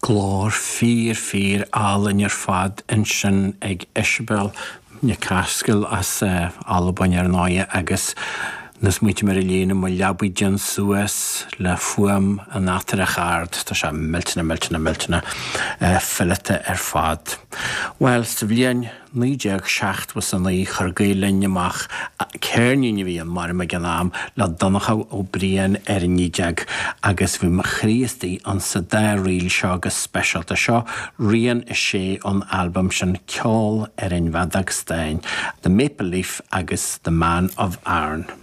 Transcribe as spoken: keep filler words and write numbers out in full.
Glór fíor fíor álainn ar fad ansin ag Isabel Nic Ascaill as uh, Albain ar ndóigh agus na smaointe mar a líon mo leabaidh déan suas le fuaim an ataireach ard tá sé millteanach millteanach millteanach uh, fileata ar fad. Well sa bhliain naoi déag seachtó a naoi chuir Gael Linn amach ceirnín a bhí an mar ag an am le Donncha Ó Briain ar an fhidéig agus bhí mo chroí istigh an sa dá ríl seo go speisialta seo rian a sé an albam sin ceol ar an bhfeadóg stáin, The Maple Leaf agus The Man of Aran.